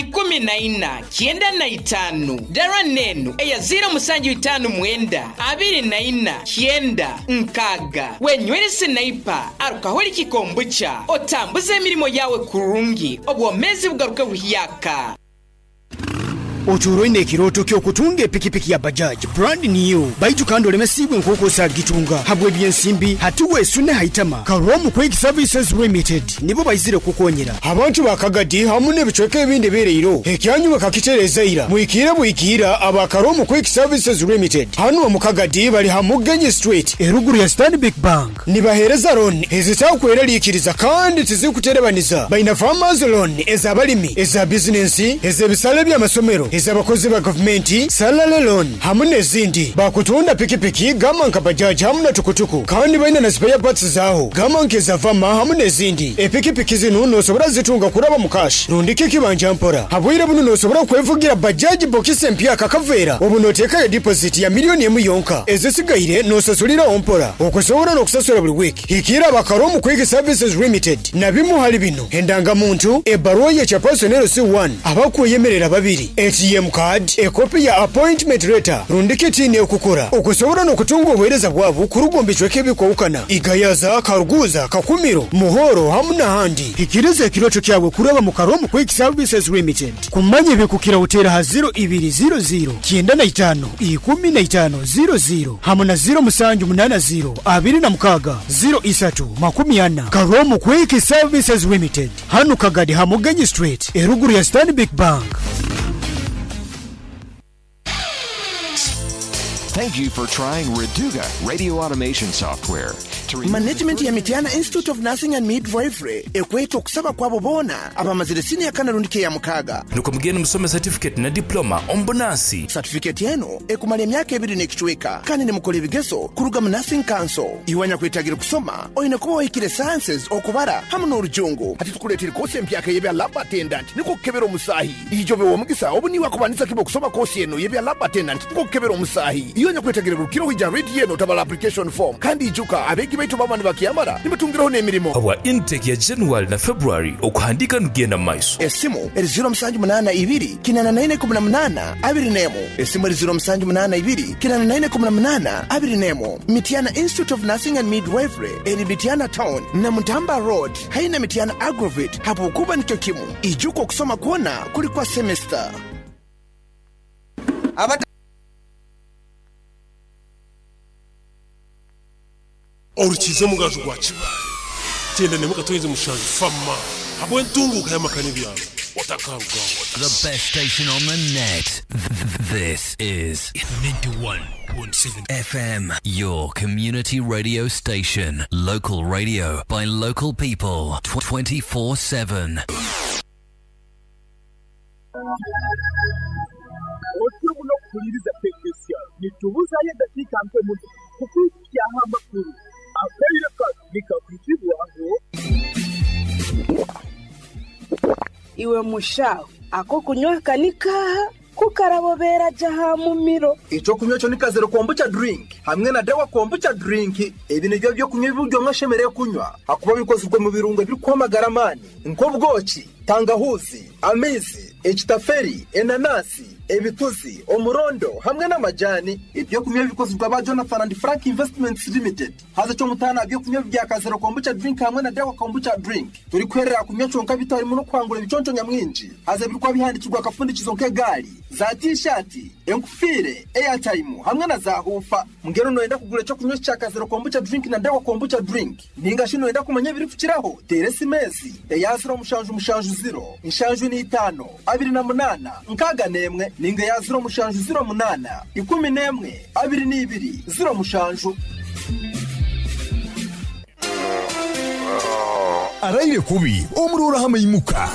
14 95. Dara n'enu eya 0759 24 90 6. Wenywere Sniper Alcoholic Kombucha otambuze emirimo yaawe kurungi obwomeezi bugaruke buhyaka. Otuura oine ekirooto ky'okutunga epikipiki ya Bajaj brand new baitu kandi olemesiibwe nk'oku osaagitunga habw'ebyensimbi? Hati weesune ha itama, Karomu Quick Services Limited nibo baizire kukukonyera. Abantu ba Kagadi hamu n'ebicweka ebindi ebyereiro, ekyanyu bakakitereeza ira. Mwikiire bwikiira aba Karomu Quick Services Limited hanu omu Kagadi bali ha Mugenyi Street eruguru ya Stanbic Bank. Nibaheereza looni ezitakweraliikiriza kandi tizirikuterebaniza. Baine Farmers Loan ez'abalimi, eza bizinensi, ez'ebisale by'amasomero, ez'abakozi ba gavumenti, Salary Loan hamu n'ezindi. Bakutunda pikipiki gamba nka Bajaj hamu na tukutuku kandi baine na spare parts zaaho gamba nk'eza Vama hamu n'ezindi. Epikipiki zinu nosobora zitunga kuraba mu cash rundi kikibanja mpora. Habwire bunu nosobora kwevugira Bajaj bokisi empyaka akaveera obu noteekayo deposit ya millioni emu yonka ezisigaire nosasuliraho mpora. Okusobola n'okusasula buli wiiki, hikiira aba Karomu Quick Services Limited na bimu hali bino, Endangamuntu, ebbaruwa y'ekya Person LC1, abakweyemerera babiri, ATM card, ekopi ya appointment letter rundi kiti n'ekukora. Okusobola n'okutunga obuheereza bwabu kuruga omu bicweka ebikwahukana, Igayaza, Karuguza, Kakumiro, Muhoro hamu n'ahandi. Hikiriza ekirooto kyawe kuraba mu Karomu Quick Services Limited. Kumanya ebikukiraho teera aha ziro ibiri ziro ziro 95 15 ziro ziro hamu na ziro musanju munana ziro 26 03 40. Karomu Quick Services Limited hanu Kagadi ha Mugenyi Street eruguru ya Stanbic Bank. Thank you for trying Reduga radio automation software. To remove the Management ya Mityana Institute of Nursing and Midwifery ekweta okusaba kwabo boona abamazire siniya kana rundi k'eyamukaaga. Nukwo mugende musome satifiketi na dipuloma omu bunansi. Satifiketi enu ekumara emyaka ebiri n'ekicweka kandi nimukora ebigezo kuruga mu Nursing Council. Iwe anyakwetagire kusoma oine kuba ohikire Sciences, Okubara hamu n'Orujungu. Hati tukuleteire koosi empyaka ey'ebya Lab Attendant nikwo kukebera omusaahi. Ijo obe w'omugisa obu niiwe akubandiza kimu okusoma koosi enu ey'ebya Lab Attendant nikwo kukebera omusaahi. Iwe anyakwetagire rukira oija rediyo enu otabara application form. Kandi ijuka abeegi baitu baba nibakyamara nibatungiraho n'emirimo. Habwa intake ya January na February okuhandiika nigugenda mu maiso. Esimu eri ziro musanju munaana ibiri 84 18 21. Esimu eri ziro musanju munaana ibiri 84 18 21. Mityana Institute of Nursing and Midwifery eri Mityana Town, Namutamba Road haihi na Mityana Agrovet habwokuba nikyo kimu. Ijuka okusoma kwona kuli kwa semester. Orukiiza omugaju gwa Kibaale, Kyenda n'emwe akatonyezi mushanju Fama habw'entunguuka y'amaka n'ebyaro otakarugaho. The best station on the net. This is 91.7 FM, your community radio station. Local radio by local people 24/7. Otyo muno kuhuliriza Pekesia. Nitubuzayo edakiika nke muno kukuhikyaho amakuru. Akaire kanu nikakwizibwaho. Iwe mushaho, ak'okunywa aka ni kaaha? Ku karabobeera gye aha mumiro. Eky'okunywa ekyo ni Kazero Kombucha Drink hamwe na Dawa Kombucha Drink. Ebi nibyo by'okunywa ebi buri omwe ashemereire kunywa ahakuba bikozirwe mu birungo ebirikuha amagara amaani nk'obwoki, tangahuuzi, amaizi, ekitaferi, enanasi, ebituzi, omurondo hamwe n'amajani. Eby'okunywa ebi bikozirwe aba Jonathan and Frank Investments Limited. Haza eky'omutaano aha by'okunywa ebi bya Kazero Kombucha Drink hamwe na Dawa Kombucha Drink, torikuherera aha kunywa kyonka beitu harimu n'okuhangura ebiconco nyamwingi. Haza ebirikuba bihandikirwe aha kafundikizo nk'egaari, za tiishaati, enkufiire, eyataimu hamwe na zaahuufa. Mbwenu nooyenda kugura eky'okunywa eki kya Kazero Kombucha Drink na Dawa Kombucha Drink? Nainga shi nooyenda kumanya ebirikukiraho? Teera esimu ezi, eya ziro mushanju mushanju ziro, nshanju n'eitaano, abiri na munaana, nkaaga n'emwe, nainga eya ziro mushanju ziro munaana, ikumi n'emwe, abiri n'ibiri, ziro mushanju. Araire kubi omuroora aha maimuka.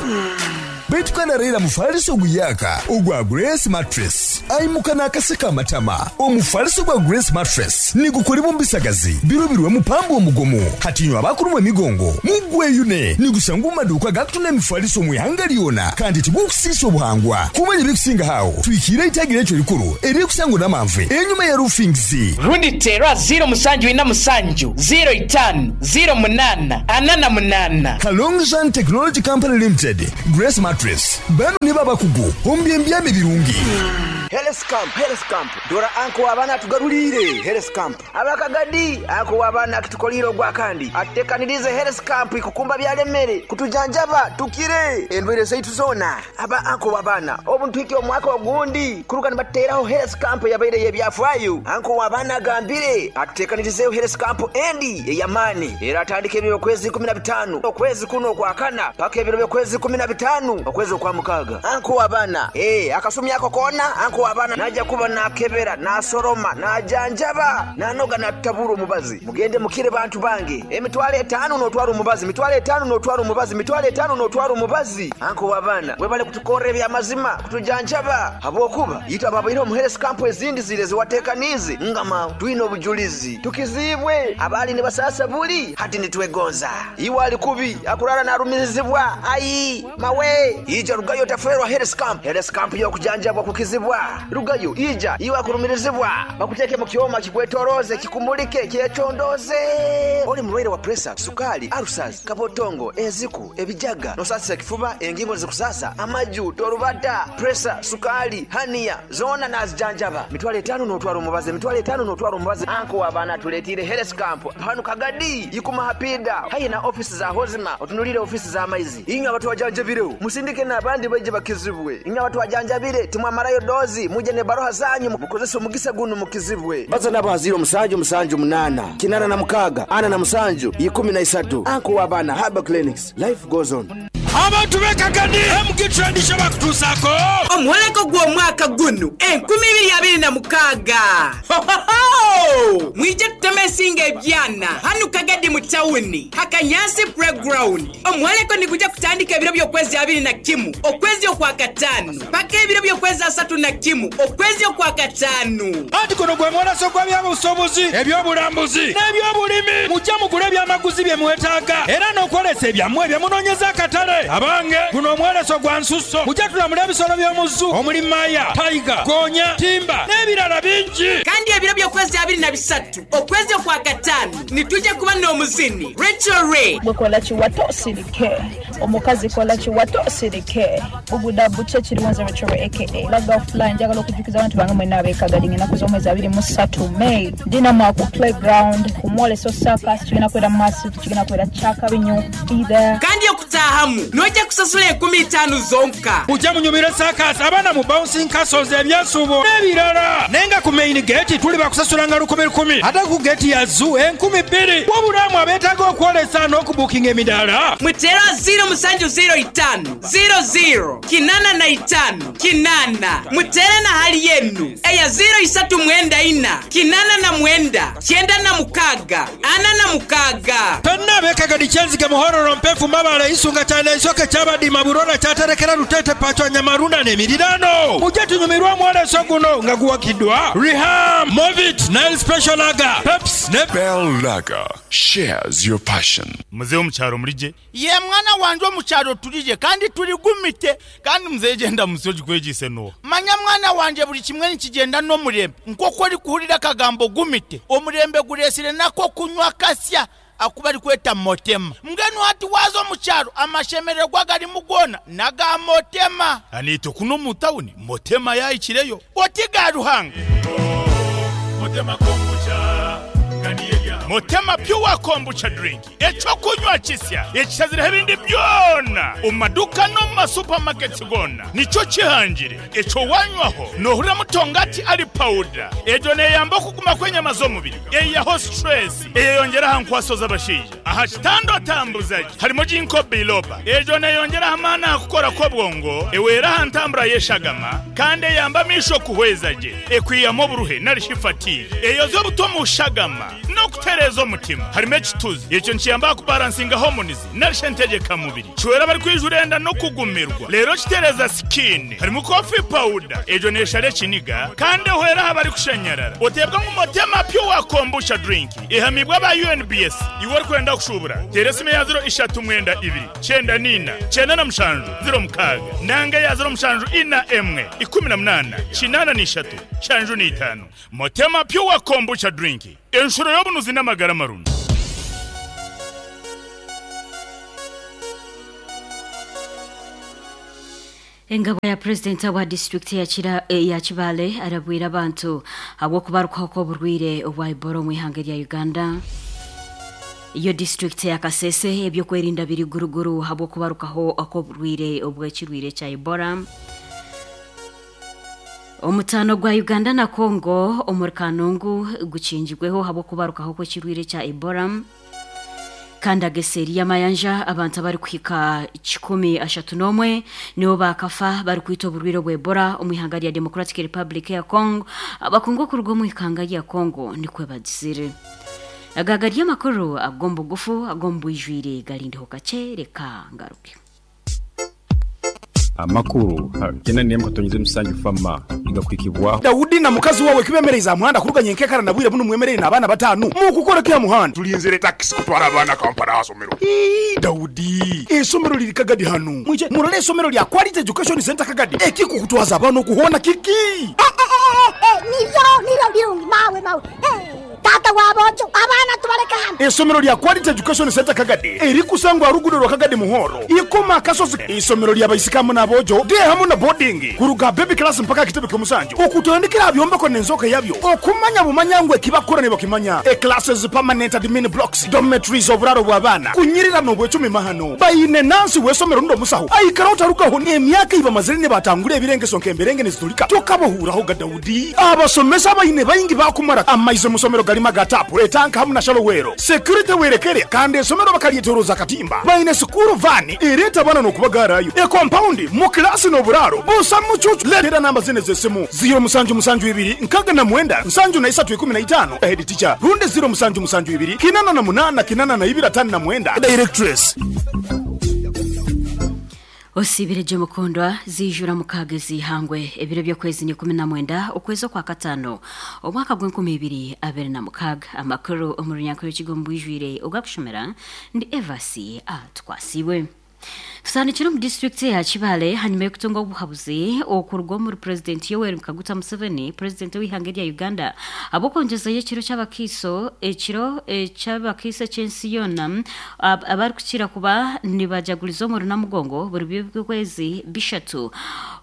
Beitu kandi araire aha mufariso oguyaaka ogwa Grace Mattress. Aimuka naakaseka amatama. Omufariso gwa Grace Mattress nigukoribwa omu bisagazi birubirwemu pamba omugumu. Hati inywe abakurumwa emigongo mugweyune. Nigushangwa omu maduuka agakutunda emifariso omu ihanga ryona kandi tigukusiisa obuhangwa. Kumanya ebirikusingaho aho, twikiire eitagi ryaitu erikuru eririkusangwa Namanve enyima ya Roofings. Rundi teera ziiro musanju ina musanju, ziiro itaanu, ziiro munaana, ana na munaana. Kalongzhan Technology Company Limited, Grace Mattress. Mattress bano nibo abakugu omu by'embyama ebirungi. Health Camp, Health Camp, Dora anko w'abaana atugaruliire Health Camp. Aba Kagadi, anko w'abaana akitukoliire ogwakandi atutekaniriize Health Camp ikukumba byalemere kutujanjaba tukire endwaire zaitu zoona. Aba anko w'abaana obu nituhikya omwaka ogundi kuruga nibatuteraho Health Camp eyabaire ey'ebyafaayo. Anko w'abaana agambire atutekanirizeeho Health Camp endi ey'amaani eratandika ebiro by'okwezi 15 okwezi kunu okwakana paka ebiro by'okwezi 15 okwezi okwamukaaga. Anko w'abaana, Ee, akasumi ako koona anko w'abaana naija kuba naakebera, naasoroma, naajanjaba, naanoga naatutabura omubazi. Mugende mukire bantu bange. Emitwalo etaanu n'otwara omubazi, mitwalo etaanu n'otwara omubazi, mitwalo etaanu n'otwara omubazi. Anko w'abaana, webale kutukorra eby'amazima, kutujanjaba habw'okuba itwe ababaire omu health camp ezindi ziri ezi wateekaniize ngama twine obujulizi. Tukiziibwe abaali nibasaasa buli hati nitwegonza. Iwe ali kubi akuraara naarumirizibwa, ayi! Mawe! Ija rugayo otaferwa Health Camp. Health Camp y'okujanjabwa kukizibwa. Rugayo, ija, iwe akurumirizibwa. Bakuteeke mu kyoma kikwetoroze, kikumulike, kyecondooze. Oli mulwaire wa puresa, sukaali, alusazi, kabotongo, enziku, ebijaga, n'osaasisa ekifuba, engingo nizikusaasa, amaju, torubata, puresa, sukaali, haniya, zoona naazijanjaba. Mitwalo etaanu n'otwara omubazi, emitwalo etaanu n'otwara omubazi. Anko w'abaana atureeteire Health Camp hanu Kagadi, Ikuma Hapiida, haihi na ofiisi za Hozima, otunuliire ofiisi z'amaizi. Inywe abatwajanjabireho, musindike n'abandi baije bakizibwe. Inywe abatwajanjabire, timwamarayo doozi, mwije n'ebaruha zanyu mukozese omugisa gunu mukizibwe. Baza nabo aha 0778 86 47 13. Anko w'abaana Herbal Clinics, life goes on. Abantu b'e Kagadi, MG Trade kye bakutuusaako. Omwoleko gw'omwaka gunu 2026! Hohoho! Mwije tuteme ensingo ebyana hanu Kagadi mu tawuni ha Kanyansi Playground. Omwoleko nigugya kutandika ebiro by'okwezi 21 okwezi Okwakataanu paka ebiro by'okwezi 31 okwezi Okwakataanu. Anti guno gwe mwoleso gw'ebyobusuubuzi, eby'obulambuzi n'eby'obulimi. Muje mugule ebyamaguzi bye mwetaaga era n'okwolesa ebyammwe bye munoonyeza akatale. Abange, guno omwoleso gwa nsusso. Muje tulamule ebisolo by'omu zoo omuli maya, tiger, goonya, timba n'ebirala bingi. Kandi ebiro by'okwezi 23 Okwezi Okwakataanu nitwija kuba n'omuzini Rachel Ray. Gwe kola kiwato osirike Omukazi kola kiwato osirike Buguda bukye kiriwo nze Rachel Ray aka Laga of Fly Njagala okujukiza abantu bange mwena ab'e Kagadi nga enaku z'omwezi 23 May ndi namwe ku playground ku mwoleso circus kigenda kubeera massive kigenda kubeera kyakabi nnyo be there. Kandi okutaahamu noija kusasula enkumi itaanu zonka. Muje munyumirwe saakaasi, abaana mu bouncing castles, ebyesuubo n'ebirala. Naye nga ku main gate tuli bakusasula nga lukumi lukumi ate ku gate ya zoo 2000. Wabula mwe abeetaaga okwolesa n'okubuukinga emidaala. Muteere ziiro musanju ziiro itaanu ziiro ziiro kinaana na itaanu kinaana. Muteere na hali enu eya ziiro isatu mwenda ina 89 96 46. Twena ab'e Kagadi, Kyenzige, Muhororo, Mpefu, Mabale, Isunga, Kyanda, Isoke, Kyabadima, Burora, Kyaterekera, Luteete, Pachwa, Nyamarunda n'emirirano. Muje tunyumirwe omwoleso guno nga guwagidwa Riham, Movit, Nile Special Lager, Pepsi ne Bell Lager shares your passion. Muzei omu kyaro muri gye? Yee mwana wangye omu kyaro turi gye kandi turi gumite. Kandi muzei egyo endamutsyo ogikwegyeise n'oha? Manya mwana wangye buri kimwe nikigyenda n'omurembe. Nk'oku orikuhurira akagambo gumite, omurembe gureetsire n'ak'okunywa kasya aku barikweta Motema. Mbwenu hati waaza omu kyaro amashemererwa agarimu goona n'aga Motema. Naitwe kunu omu tawuni Motema yaahikireyo. Oti ga Ruhanga. Motema Pure Kombucha Drink, eky'okunywa kisya ekishazireho ebindi byona omu maduuka n'omu ma supermarkets goona nikyo kihangire. Ekyo wanywaho nohurira mutongati ari pawuda. Egyo neyamba okuguma kw'enyama z'omubiri, eyihaho stress, eyeyongyera aha nkwaso z'abashaija. Aha kitanda otambuza gye harimu Ginkgo biloba. Egyo neyongyera aha maani aha kukora kw'obwongo, ehwera aha ntambura y'eshagama kandi eyamba amaisho kuhweza gye. Ekwihamu oburuhe nari shi fatigue. Eyoza obuto omu shagama n'okutereeza omutima. Harimu ekituzi. Ekyo nikiyamba aha kubaransinga hormones nari shi entegyeka mubiri. Kihwera abarikwija enda n'okugumirwa reero kitereeza skin. Harimu coffee powder, egyo neeshara ekiniga kandi ehwera aha barikushanyarara. Oteebwa ngu Motema Pure Kombucha Drink ehamiibwe aba UNBS. Iwe orikwenda kushuubura, teera esimu eya ziro ishatu mwenda ibiri, kyenda na ina, 97, 06 nanga eya ziro mushanju ina emwe, 18, 83, 75. Motema Pure Kombucha Drink, enshuro y'obunuzi n'amagara marungi. Engabo ya purezidenti wa disiturikiti ya Kibaale arabwire abantu ahabw'okubarukaho kw'oburwaire obwa Ebola omu ihanga erya Uganda. Yo disiturikiti ya Kasese eby'okwerinda biri guruguru ahabw'okubarukaho kw'oburwaire obw'ekirwaire kya Ebola. Omutaano gwa Uganda na Congo omuri Kanungu gukingirweho ahabw'okubarukaho kw'ekirwaire kya Ebola. Kandi aga eseeri y'amayanja abantu abarikuhika 131 nibo baakafa barikwitwa oburwaire obwa Ebola omu ihanga rya Democratic Republic eya Congo, abakungu okuruga omu ihanga rya Congo nikwo bagizire. Aga gari amakuru ag'omu bugufu ag'omu bwijwire garindeho kakye reka ngaruke. Amakuru kyenda n'emwe katonyeze musanju fama nigakuhikibwaho. Daudi na mukazi wawe kibemereize aha muhanda kuruga nyenkekara na bwire bunu mwemereire n'abaana batanu mukukora ki aha muhanda? Tulinzire takisi kutwara abaana Kampala aha somero. Ii, Daudi, eisomero liri Kagadi hanu. Mwije murole eisomero lya Quality Education Centre Kagadi. Ekikukutwaza abaana oku hoona kiki? Niryo, niryo birungi mawe mawe. Taata wa boojo, abaana tubaleke hanu. Eisomero lya Quality Education Centre Kagadi erikusangwa aha ruguudo rwa Kagadi Muhoro, Ikoma Akasozi. Eisomero lya baisiki hamu n'aboojo, day hamu na boarding, kuruga aha baby class mpaka aha kitebe ky'omusanju, okutandikira aha byombeko n'enzooka yabyo, okumanya bumanya ngu eki bakukora nibakimanya, e-classes, permanent admin blocks, dormitories, oburaaro bw'abaana, kunyirira n'obwecumi mahano. Baine nansi w'eisomero rundi omusaho aikara otarugaho n'emyaka ei bamazire nibatangura ebirengeso nk'emberenge niziturika tokabahuuraho ga Daudi. Abasomesa abaine baingi baakumara amaizi omu somero garimu aga taapu, etanka hamu na shalowero. Security werekere kandi esomero bakaryetoroza akatimba. Baine sikuuru vaani ereeta abaana n'okubagaarayo. Ekompaundi, mu kilaasi n'oburaaro busa mucuucu. Leetera namba zinu ez'esimu, ziiro musanju musanju ibiri nkaaga na mwenda nsanju na isatu ikumi na itaano, Head teacher, rundi ziiro musanju musanju ibiri kinana na munaana kinana na ibiri ataano na mwenda, Directress. Osiibire gye mukundwa, ziijura mukaaga ez'eihangwe, ebiro by'okwezi ni 19 okwezi okwakataano omwaka gw'e2026. Amakuru omu runyankore Rukiga omu bwijwire ogakushomera ndi Evasi Atukwasiibwe. Tutandikire omu disiturikiti eya Kibaale hanyima y'okutunga obuhabuzi okuruga omuri Purezidenti Yoweri Kaguta Museveni, Purezidenti ow'eihanga erya Uganda ahabw'okwongyezayo ekiro ky'abakaiso ekiro ky'abakaiso eky'ensi yoona abarikukira kuba nibajaguriza omuri Namugongo buri by'okwezi bishatu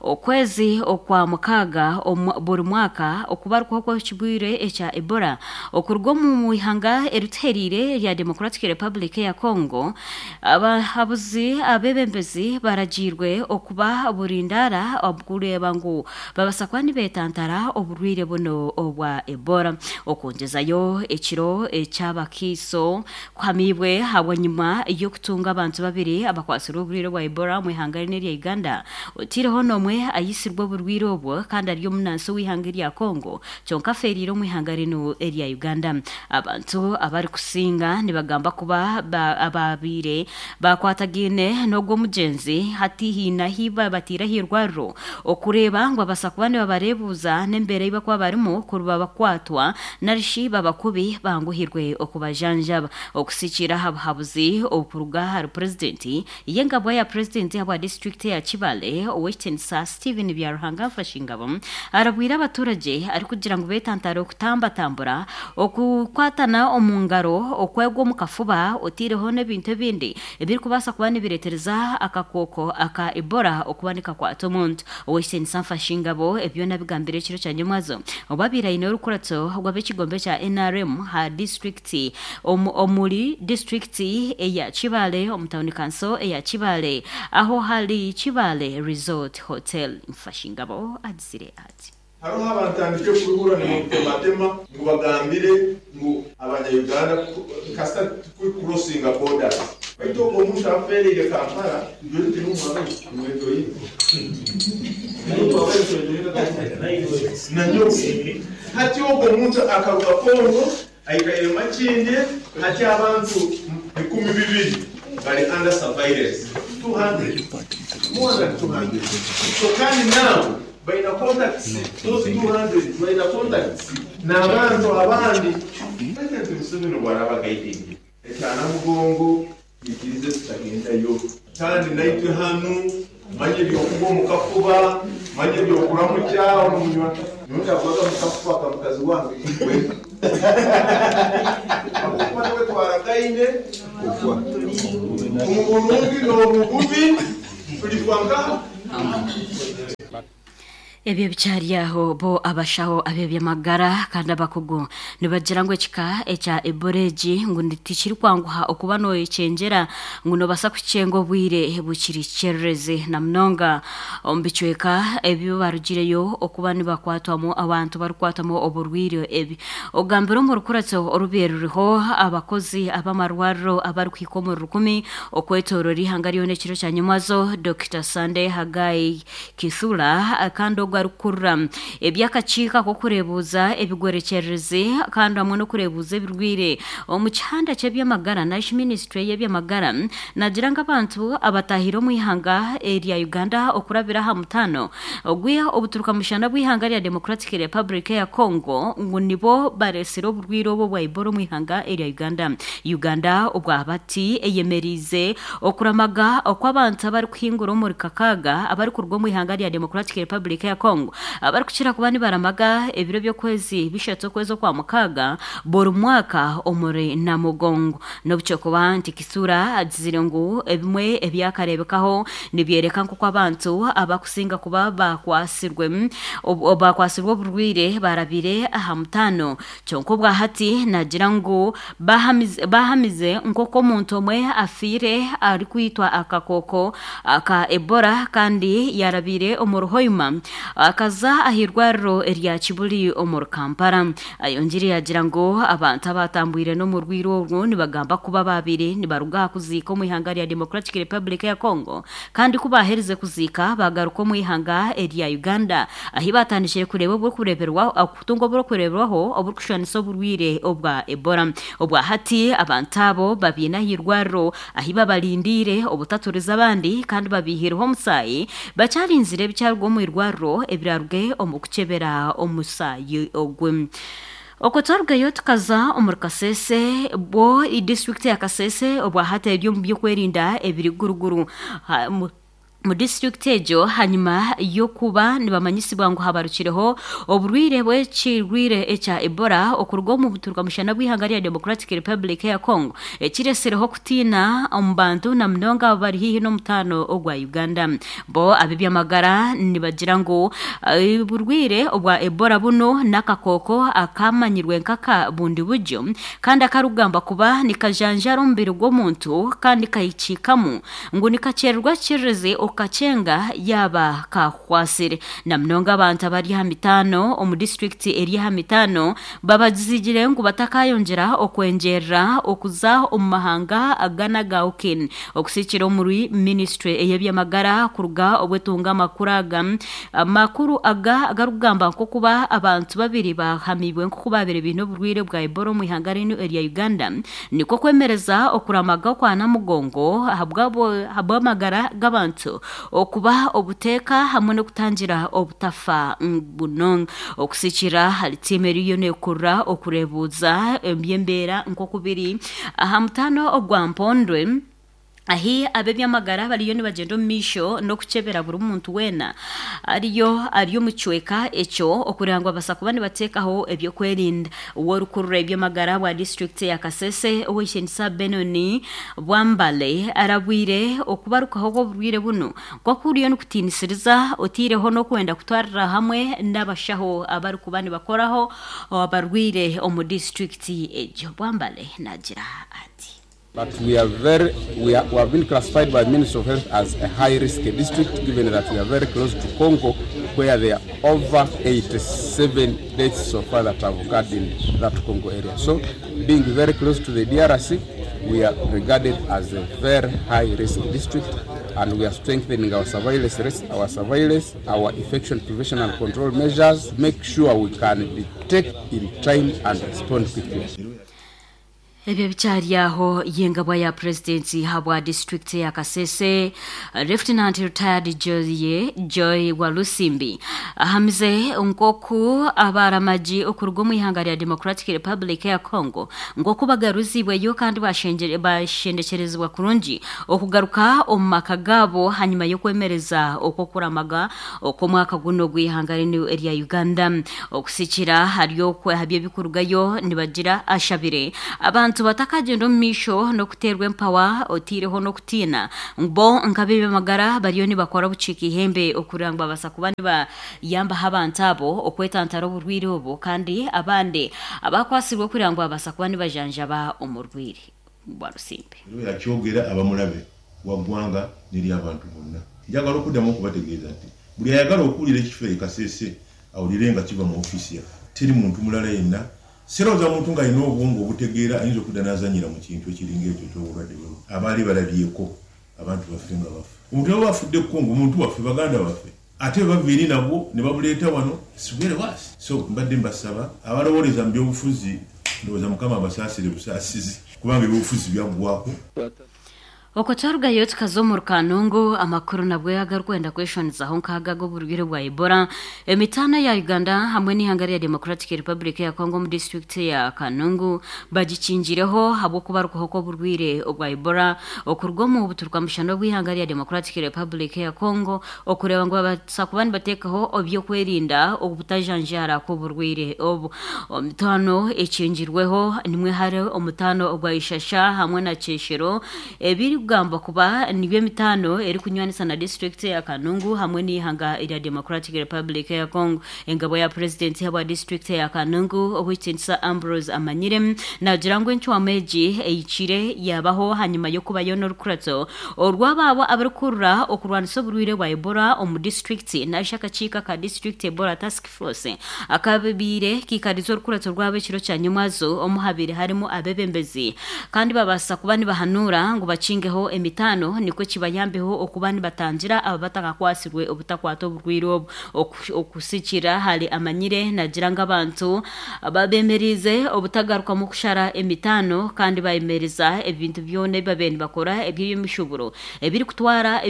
okwezi okwa mukaaga buri mwaka okubarukaho kw'ekirwaire ekya Ebola okuruga omu ihanga erituhereire erya Democratic Republic eya Congo. Abahabuzi abeebembezi baragiirwe okuba burindaara kureeba ngu babasa kuba nibetantara oburwaire bunu obwa Ebola. Okwongyezayo ekiro eky'abakaiso kuhamiibwe ahabwanyima y'okutunga abantu babiri abakwatsirwe oburwaire bwa Ebola omu ihanga rinu erya Uganda oteireho n'omwe aitsirwe oburwaire obwo kandi ari omunansi ow'eihanga erya Congo kyonka afeereire omu ihanga rinu erya Uganda. Abantu abarikusinga nibagamba kuba abaabaire bakwatagaine n'ogwo omugyenzi hati haine ahi babataire ah'eirwariro okureeba ngu babaasa kuba nibabareebuuza n'embeera ei barikuba barimu kuri babakwatwa narishi baba kubi banguhirwe okubajanjaba. Okusikiira aha buhabuzi obukuruga ahari Purezidenti y'engabwa ya Purezidenti ahabwa disiturikiti eya Kibale, Ow'ekitiinisa Stephen Byaruhanga Mfashingabo arabwire abaturagye arikugira ngu betantare okutambatambura, okukwatana omu ngaro, okwegwa omu kafuba oteireho n'ebintu ebindi ebirikubaasa kuba nibireetereza akakooko aka Ebola okuba nikakwata omuntu. Ow'ekitiinisa Mfashingabo ebi byona abigambire ekiro kya nyomwazo obu abaire aine orukuratso rw'ab'ekigombe kya NRM aha disiturikiti omuri disiturikiti eya Kibaale omu tauni kanso eya Kibaale aho hari Kibaale Resort Hotel. Mfashingabo agizire ati. Hariho abantandikire kuruhurira nibantematema ngu bagambire ngu abanya Uganda kasita tukuri crossinga borders. Baitu ogwo omuntu afeereire Kampala itwe tituri omu mwejoyinga. Nanyowe. Hati ogwo omuntu akaruga Congo Aikaire Makindye hati abantu 2,000 bari under surveillance, 200, more than 200 so kandi now baina contacts those 200 baina contacts nabantu abandi. President Museveni obu araba guiding ekya Namugongo twikirize tutagendayo kandi naitwe hanu manya eby'okugwa omu kafuba manya eby'okuramukya omu munywa nyowe ndagwaga mu kafuba ka mukazi wange igwe ahabw'okuba niwe twaragaine omu burungi n'omu bubi tulifwa nkaha? Ebyo bikyari aho bo abashaho ab'ebyamagara kandi abakugu nibagira ngu ekika ekya Ebola egi ngu tikirikwanguha okuba noyekyengyera ngu nobaasa kukyenga obwire bukiri kyererezi na munonga omu bicweka ebi barugireyo okuba nibakwatwamu abantu barikukwatwamu oburwaire ebi. Ogambire omu rukuratso orubaire ruriho abakozi ab'amarwariro abarikuhika omuri rukumi okwetoorora eihanga ryona ekiro kya nyimwazo, Dokita Sunday Haggai Kithura kandi ogwo arikukurira eby'akakiiko ak'okureebuuza ebigwerekyererezi kandi hamwe n'okureebuuza ebirwaire omu kihanda ky'eby'amagara narishi minisiture y'eby'amagara naagira ngu abantu abataahire omu ihanga erya Uganda okurabira aha mutaano ogwa obuturuka mushana bw'eihanga rya Democratic Republic eya Congo ngu nibo bareetsire oburwaire obu obwa Ebola omu ihanga erya Uganda. Uganda obwahati eyemeriize Okuramaga okw'abantu abarikuhingura omuri kakaaga abarikuruga omu ihanga rya Democratic Republic ya Congo abarikukira kuba nibaramaga ebiro by'okwezi bishatu okwezi Okwamukaaga buri mwaka omuri Namugongo. N'obu ky'okuba nti Kisura agizire ngu ebimwe ebyakareebekaho nibyoreka nk'oku abantu abakusinga kuba bakwatsirwe bakwatsirwe oburwaire barabire aha mutaano Kyonka obwahati nagira ngu bahamize nk'oku omuntu omwe afiire arikwitwa akakooko ka Ebola kandi yarabiire omuri Hoima akaza ah'eirwariro erya Kibuli omuri Kampala. Ayongiire yagira ngu abantu abatambwire n'omurwaire orwo nibagamba kuba babaire nibaruga aha kuziika omu ihanga rya Democratic Republic ya Congo kandi ku baaherize kuziika bagaruka omu ihanga erya Uganda ahi batandikire kureeba oburikureeberwaho Kutunga oburikureeberwaho oburikushushanisa oburwaire obwa Ebola. Obwa hati abantu abo babiine aha irwariro ahi babarindiire obutaturiza abandi kandi babaihireho omusaayi bakyarinzire ebikyaruga omu irwariro ebiraruge omu kukyebera omusaayi ogu. Okwo twarugayo tukaza omuri Kasese, bwo disiturikiti ya Kasese obwa hati eri omu by'okwerinda ebiri guruguru. Omu disiturikiti egyo hanyima y'okuba nibamanyisibwa ngu habarukireho oburwaire bw'ekirwaire ekya Ebola okuruga omu buturuka-mushana bw'eihanga rya Democratic Republic eya Congo ekiretsireho okutiina omu bantu na munonga abo abari haihi n'omutaano ogwa Uganda. Bo ab'eby'amagara nibagira ngu oburwaire obwa Ebola bunu n'akakooko akamanyirwe nk'aka bundi buryo kandi akarikugambwa kuba nikajanjaara omubiri gw'omuntu kandi kahikiikamu Ngu nikakyererwa kikiririzi okukakyenga yaaba kakukwasire. Na munonga abantu abari aha mitaano omu disiturikiti eri aha mitaano babagizigire ngu batakayongyera okwengyerera okuza omu mahanga agana aga Ukin okusikira omuri minisiture ey'ebyamagara kuruga obu etunga amakuru aga. Amakuru aga agarikugamba nk'okuba abantu babiri bahamibwe nk'oku baabaire baine oburwaire bwa Ebola omu ihanga rinu erya Uganda. Nikwo kwemereza okuramaga okwa Namugongo ahabw'amagara g'abantu okuba obuteeka hamwe n'okutangira obutafa buno. Okusikira ahari tiimu eriyo nekurura okureebuuza eby'embeera nk'oku biri aha mutaano ogwa Mpondwe, Ahi ab'eby'amagara bariyo nibagyenda omu maisho n'okukyebera buri muntu weena ariyo ari omu kicweka ekyo okureeba ngu babaasa kuba nibateekaho eby'okwerinda. Ow'orukurura eby'amagara bwa disiturikiti ya Kasese, Ow'eishengyesa Benoni Bwambale arabwire okubarukaho kw'oburwaire bunu nk'oku kuriyo nikutiinisiriza oteireho n'okwenda kutwarira hamwe n'abashaho abarikuba nibakoraho abarwaire omu disiturikiti egyo. Bwambale naagira ati. But we are very, we, are, we have been classified by Ministry of Health as a high risk district given that we are very close to Congo where there are over 87 deaths so far that have occurred in that Congo area. So being very close to the DRC, we are regarded as a very high risk district and we are strengthening our surveillance, risk, our surveillance, our infection prevention and control measures, make sure we can detect in time and respond quickly. Ebyo bikyari aho, y'engabwa ya Purezidenti ahabwa disiturikiti ya Kasese, Lieutenant Retired Joy Joy Walusimbi ahamize nk'oku abaramagi okuruga omu ihanga rya Democratic Republic ya Congo nk'oku bagaruzibweyo kandi bashendekyerezibwa kurungi okugaruka omu maka gaabo hanyima y'okwemereza okw'okuramaga okw'omwaka gunu ogw'ihanga rinu erya Uganda. Okusikira ahari okwo ahaby'ebikurugayo nibagira ashabire abantu. Abantu batakagyenda omu maisho n'okuteerwa empawa otaireho n'okutiina bo nk'ab'eby'amagara bariyo nibakora obukiika ihembe okureba ngu babaasa kuba nibayambaho abantu abo okwetantara oburwaire obu kandi abandi abakwatsirwe okureba ngu babaasa kuba nibajanjaba omurwaire bwa Rusimbi. Era oyo akyogera aba mulabe wa ggwanga n'eri abantu bonna. Njagala okuddamu okubategeeza nti buli ayagala okuwulira ekifa e Kasese awulire nga kiva mu ofiisi yaffe. Teri muntu mulala yenna. Sirowooza muntu ng'alina obwongo obutegeera ayinza okudda n'azannyira mu kintu ekiringa ekyo eky'obulwadde bwe buno. Abaali balabyeko abantu baffe nga bafa. Omuntu ne bw'aba afudde Congo, muntu waffe, baganda baffe. Ate bwe bava eri nabwo ne babuleeta wano, it's very worse. So mbadde mbasaba abalowooleza mu byobufuzi, ndowooza Mukama abasaasire busaasizi kubanga ebyobufuzi byaggwaako. Okwo twarugayo tukaza omu Rukanungu, amakuru nabwo agarikwenda kweshwanizaho nk'ago ag'oburwaire bwa Ebola. Emitaano ya Uganda hamwe n'eihanga rya Democratic Republic ya Congo omu disiturikiti ya Kanungu bagikingireho ahabw'okubarukaho kw'oburwaire obwa Ebola okuruga omu buturukwamushana obw'eihanga rya Democratic Republic ya Congo okureeba ngu babaasa kuba nibateekaho eby'okwerinda obutajanjaara kw'oburwaire obu. Omutaano ekingirweho nimwe hari omutaano ogwa Ishasha hamwe na Kyeshero ebirikugambwa kuba nibyo emitaano erikunywanisa na disiturikiti ya Kanungu hamwe n'eihanga erya Democratic Republic ya Congo. Engabwa ya Purezidenti ahabwa disiturikiti ya Kanungu, Owekitiinisa Ambrose Amanyire naagira ngu encwamu egi ehikire yaabaho ahanyima y'okubayo n'orukurato orw'abaabo abarikukurira okurwanisa oburwaire bwa Ebola omu disiturikiti narishi akakiiko aka District Ebola Task Force akabaire kaikarize orukurato rwabo ekiro kya nyomwazo omu habaire harimu abeebembezi kandi babaasa kuba nibahanuura ngu bakingeho emitaano nikwo kibayambeho okuba nibatangira abo abatakakwatsirwe obutakwata oburwaire obu. Okusikira ahari Amanyire nagira ngu abantu bemereize obutagarukamu kushara emitaano kandi bayemereza ebintu byona ebi babaire nibakora eby'emishuburo ebirikutwara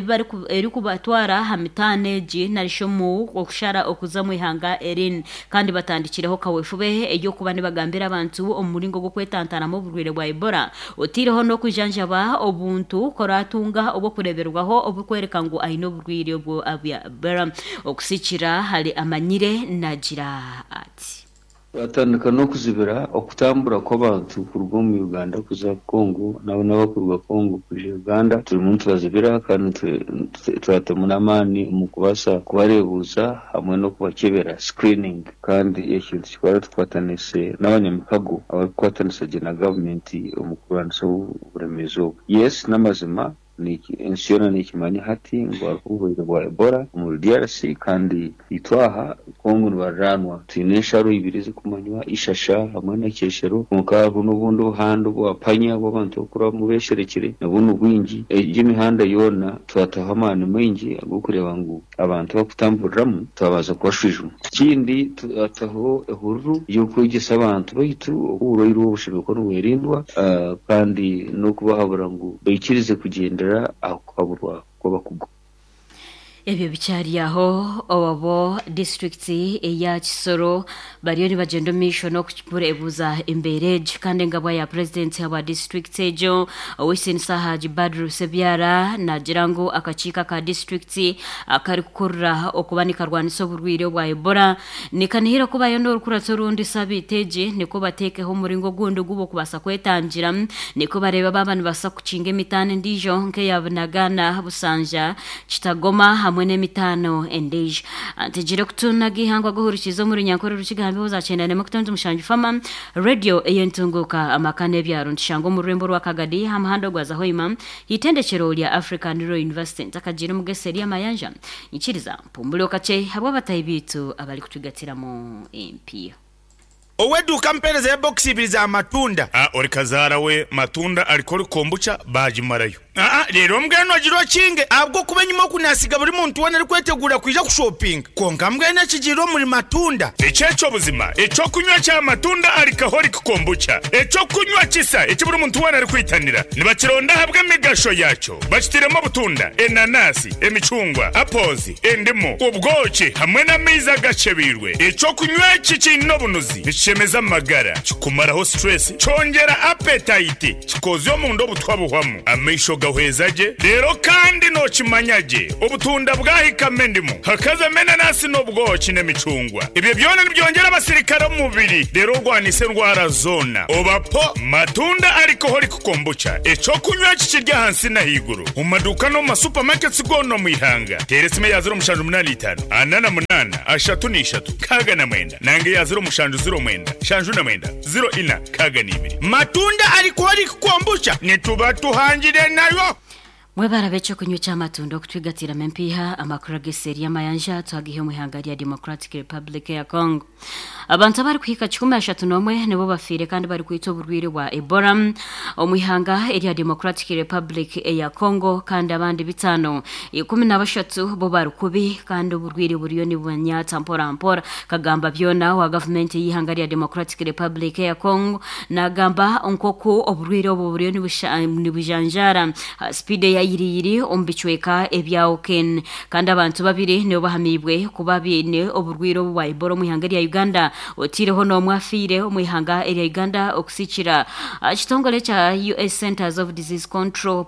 erikubatwara aha mitaano egi narishi omu okushara okuza omu ihanga erindi kandi batandikireho kawefube ey'okuba nibagambira abantu omu muringo gw'okwetantaramu oburwaire bwa Ebola otaireho n'okujanjaba obuntu ku oratunga obw'okureeberwaho oburikworeka ngu aine oburwaire obwo bwa Ebola. Okusikira ahari Amanyire nagira ati. Twatandika n'okuzibira okutambura kw'abantu kuruga omu Uganda kuza Congo nabo n'abarikuruga Congo kwija Uganda. Turimu nitubazibira kandi twatamu n'amaani omu kubaasa kubareebuuza hamwe n'okubakyebera, screening. Kandi ekyo nitukikora tukwataniise n'abanyamikago abarikukwatanisa gye na gavumenti omu kurwanisa oburemeezi obu. Yes, n'amazima Ensi yoona nekimanya hati ngu hariho oburwaire bwa Ebola omuri DRC kandi itwe aha Congo nibariraanwa. Twine ensharo ibiri ezirikumanywa, Ishasha hamwe na Kyeshero kwonka hariho n'obundi obuhanda obwa Panya obu abantu barikurabamu besherekire nabwo nibwingi. Egyo emihanda yoona twataho amaani maingi ag'okureeba ngu abantu abarikutamburiramu twabanza kubashwijuma. Ekindi twataho ehururu y'okwegyesa abantu baitu oku oburwaire obu bushemereire kuba nibwerindwa kandi n'okubahabura ngu baikirize kugyendera aha kuhaburwa kw'abakugu. Ebyo bikyari aho, obu disiturikiti eya Kisoro bariyo nibagyenda omu maisho n'okubureebuza embeera egi kandi engabwa ya purezidenti ahabwa disiturikiti egyo, Ow'ekitinisa Haji Badru Sebyara naagira ngu akakiiko aka disiturikiti akarikukurira okuba nikarwanisa oburwaire obwa Ebola nikanihira kubayo n'orukuratso orundi sabiiti egi nikwo bateekeho omuringo ogundi ogu bokubaasa kwetangira nikwo bareebe baaba nibabaasa kukinga emitaano endiijo nk'eya Bunagana, Busanja, Kitagoma hamwe n'emitaano endiijo. Ntegire kutuuna ag'eihangwe ag'ohurikiize omu Runyankore Rukiga aha mbeho za 91.7 Fama Radio ey'entunguuka amaka n'ebyaro nitushangwa omu rurembo rwa Kagadi aha muhanda ogwaza Hoima Eitendekero rya African Rural University ntakagiire omu Geseri Amayanja nyikiriza mpumbure kakye ahabw'abatahi baitu abarikutugatiramu empiiha. Ow'eduuka ampeereza ya bokisi ibiri za matunda. A Ori kazaara we matunda ariko ori kombucha baagimarayo. Aa Reero mbwenu ogire okinge ahabw'okuba enyima oku naasiga buri muntu weena arikweteguura kwija kushopinga. Kwonka mbwenu ekigiire omuri matunda. Eki eky'obuzima, eky'okunywa kya matunda alcoholic kombucha, eky'okunywa kisa eki buri muntu weena arikwitanira. Nibakironda ahabw'emigasho yaakyo. Bakitairemu obutunda, enanasi, emicungwa, apples, endimu, obwoki hamwe n'amaizi agakyebeirwe. Eky'okunywa eki kiine obunuzi, nikishemeza amagara, kikumaraho stress, kyongyera appetite, kikoozya omunda obutwa buhwamu, amaisho ga. Nigahweza gye reero kandi nookimanya gye obutunda bwahikamu endimu, hakazamu enanasi n'obwoki n'emicungwa. Ebyo byona nibyongyera abasirikare omu mubiri reero orwanise endwara zoona. Oba po Matunda Alcoholic Kombucha, eky'okunywa eki kiri ahansi n'ahaiguru omu maduuka n'omu ma supermarkets goona omu ihanga. Teera esimu eya 0785 48 33 69 nanga eya 0709 79 04 62. Matunda Alcoholic Kombucha nituba tuhangire nayo. Mwebare ab'ekyokunywa eky'amatunda okutwigatiramu empiiha, amakuru ag'eseeri y'amayanja twagiha omu ihanga rya Democratic Republic eya Congo. Abantu abarikuhika 31 nibo bafiire kandi barikwitwa oburwaire bwa Ebola omu ihanga erya Democratic Republic eya Congo kandi abandi bitaano ikumi na bashatu bo bari kubi kandi oburwaire buriyo nibubanyatsa mpora mpora. Kagamba byona owa gavumenti ey'eihanga rya Democratic Republic eya Congo nagamba nk'oku oburwaire obu buriyo nibujanjaara aha sipiidi eya yiriyiri omu bicweka ebya Oken kandi abantu babiri nibo bahamiibwe kuba baine oburwaire obu bwa Ebola omu ihanga erya Uganda oteireho n'omwe afiire omu ihanga erya Uganda okusikira aha kitongore ekya US Centers of Disease Control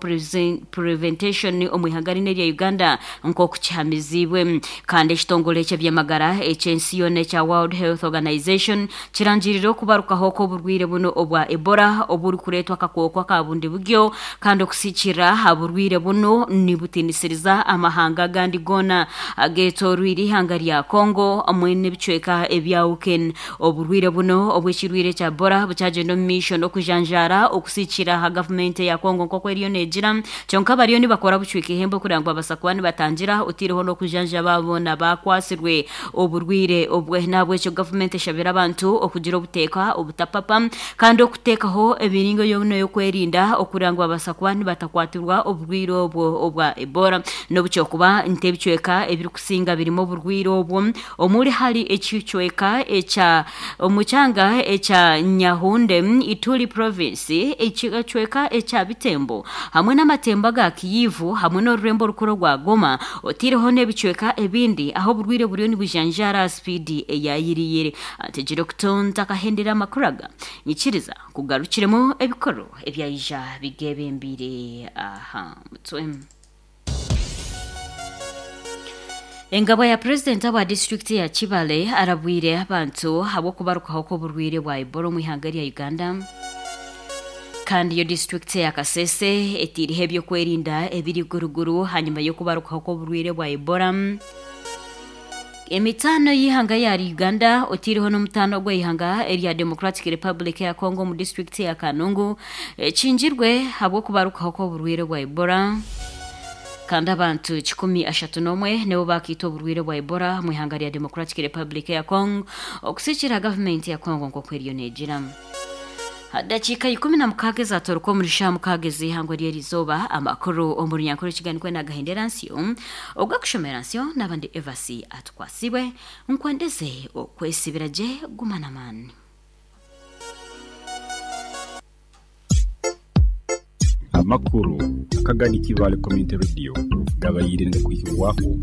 Preventation omu ihanga rinu erya Uganda nk'oku kihamiziibwe. Kandi ekitongore eky'eby'amagara eky'ensi yoona ekya World Health Organization kirangirire okubarukaho kw'oburwaire bunu obwa Ebola oburikureetwa akakooko aka bundi buryo kandi okusikirira aha burwaire bunu nibutiinisiriza amahanga agandi goona ageetooroire eihanga rya Congo hamwe n'ebicweka ebya Uken. Oburwaire bunu obw'ekirwaire kya Ebola bukyagyenda omu maisho n'okujanjaara okusikira aha gavumenti eya Congo nk'oku eriyo neegira. Kyonka bariyo nibakora bucweka ihembe kureba ngu babaasa kuba nibatangira oteireho n'okujanjaba boona abakwatsirwe oburwaire obwe. N'ahabw'ekyo gavumenti eshabire abantu okugira obuteeka obutapapa kandi okuteekaho emiringo yoona ey'okwerinda okureba ngu babaasa kuba nibatakwatirwa oburwaire obwo obwa Ebola. N'obu kyokuba nti ebicweka ebirikusinga birimu oburwaire obwo omuri hari ekicweka ekya omu kyanga ekya Nyahunde, Ituri Province, ekicweka ekya Bitembo hamwe n'amatembo aga Kiyivu hamwe n'orurembo orukuru orwa Goma oteireho n'ebicweka ebindi ahu oburwaire buriyo nibujanjaara aha sipiidi eya yiriyiri. Ntegire okutu ntakahendire amakuru aga, nyikiriza nkugarukiremu ebikuru ebyaija bigebembeire aha mutwe. Engabwa ya Purezidenti ahabwa disiturikiti ya Kibale arabwire abantu ahabw'okubarukaho kw'oburwaire bwa Ebola omu ihanga erya Uganda. Kandi yo disiturikiti eya Kasese eteireho eby'okwerinda ebiri iguruguru hanyima y'okubarukaho kw'oburwaire bwa Ebola. Emitaano y'eihanga ya Uganda oteireho n'omutaano ogw'eihanga erya Democratic Republic eya Congo omu disiturikiti eya Kanungu ekingirwe ahabw'okubarukaho kw'oburwaire bwa Ebola. Kandi abantu 131 nibo baakiitwa oburwaire bwa Ebola omu ihanga rya Democratic Republic eya Congo okusigikiirira gavumenti ya Congo nk'oku eriyo neegira. Ha dakiika 16 ezatooroka omuri shaaha mukaaga ez'eihangwe ry'erizooba, amakuru omu runyankore Rukiga nikwo naagahendera nsyo. Ogwakushomera nsyo naaba ndi Evasi Atukwatsibwe. Nkwendeze okwesibira gye, guma n'amaani. Amakuru akagani Kibaale Community Radio gabaire nigakuhikibwaho.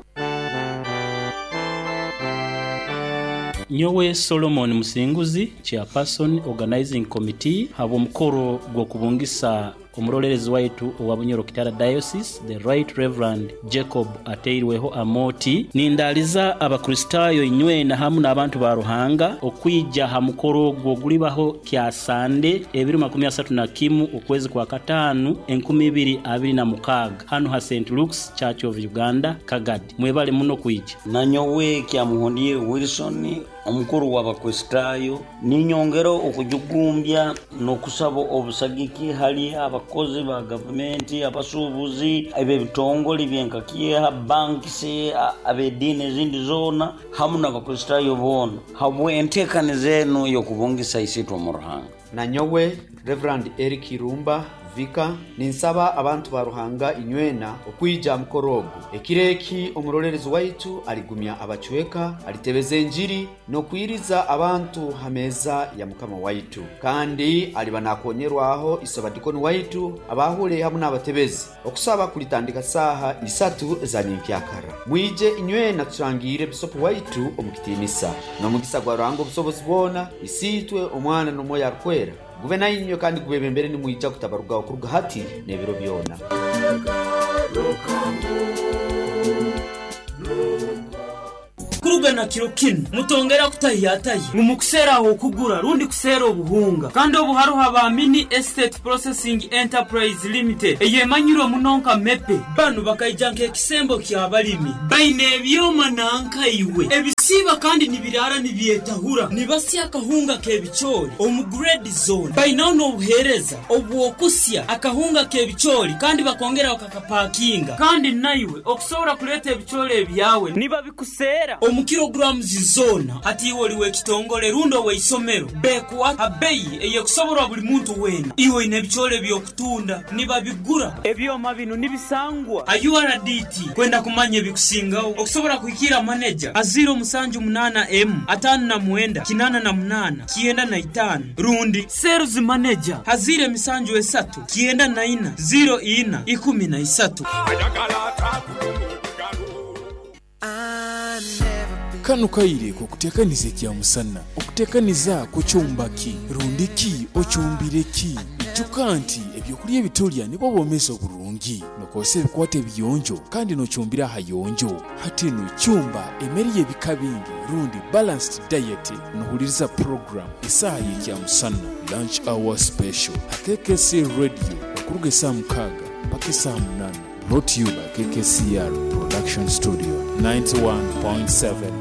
Nyowe Solomon Musinguzi, Chairperson Organizing Committee habw'omukoro gw'okubungisa Omuroleerezi waitu owa Bunyoro Kitara Diocese, The Right Rev. Jacob Ateirweho Amooti, Nindaaliza Abakristaayo inywena hamu n'abantu ba Ruhanga okwija ha mukoro ogwo ogulibaho Kyasande ebiro 31 okwezi kwa Kataanu 2026 hanu ha Saint Luke's Church of Uganda, Kagadi. Mwebale muno kwija. Nanyowe Kyamuhondiire Wilson Omukuru w'Abakristaayo, ninyongera okujugumbya n'okusaba obusagiki hali abakozi ba gavumenti, abasuubuzi, ab'ebitongole byenka Kieha, banks, ab'ediini ezindi zoona hamu n'Abakristaayo boona habw'enteekaniza enu ey'okubungisa Isiitwe omu Ruhanga. Nanyowe Rev. Eric Irumba, Vicar, ninsaba abantu ba Ruhanga inywena okwija aha mukoro ogu. Ekiro eki omuroleerezi waitu aligumya abacweka, alitebeza enjiri n'okwiriza abantu ha meeza ya Mukama waitu. Kandi aliba nakonyerwaho Isabadikoni waitu, abaahule hamu n'abatebezi. Okusaba kulitandika saaha isatu eza nyenkyakara. Mwije inywena turangiire Bisopu waitu omu kitiinisa. N'omugisa gwa Ruhanga Obusobozi bwona, Isiitwe, Omwana n'Omwoyo Arukwera. Gube nainywe kandi gubebembere nimwija kutabarugaho kuruga hati n'ebiro byona. Kuruga na kiro kinu mutongera kutahiyatahya ngu mukuseera ah'okugura rundi kuseera obuhunga. Kandi obu haroho aba Mini Estate Processing Enterprise Limited eyemanyirwe muno nka MEPE. Banu bakaija nk'ekisembo ky'abalimi. Baine ebyoma nanka iwe ebisiiba kandi nibiraara nibyetahura. Nibasya akahunga k'ebicoori omu grade zoona. Bainaho n'obuheereza obw'okusya akahunga k'ebicoori kandi bakongera bakakapakinga. Kandi naiwe okusobora kuleeta ebicoori ebyawe nibabikuseera omu kilograms zoona. Hati iwe oli w'ekitongole rundi ow'eisomero, beekuha ha beyi ey'ekusoborwa buli muntu weena. Iwe oine ebicoori eby'okutunda, nibabigura. Ebyoma binu nibisangwa ha URDT. Kwenda kumanya ebikusingaho, okusobora kuhikiira maneja ha 078 emu 59 88 95 rundi Sales Manager ha 073 94 04 13. Kanu kaire k'okuteekaniza ekyamusana. Okuteekaniza kucumba ki? Rundi ki ocumbire ki? Ijuka nti ebyokulya ebitulya nibwo bwomeezi oburungi. Nokozesa ebikwato ebiyonjo kandi nocumbira ahayonjo. Hati nu cumba emere y'ebika bingi rundi balanced diet nohuliriza program Esaaha y'Ekyamusana, Lunch Hour Special, ha KKC Radio okuruga esaaha mukaaga mpaka esaaha munaana. Brought to you by KKCR Production Studio 91.7.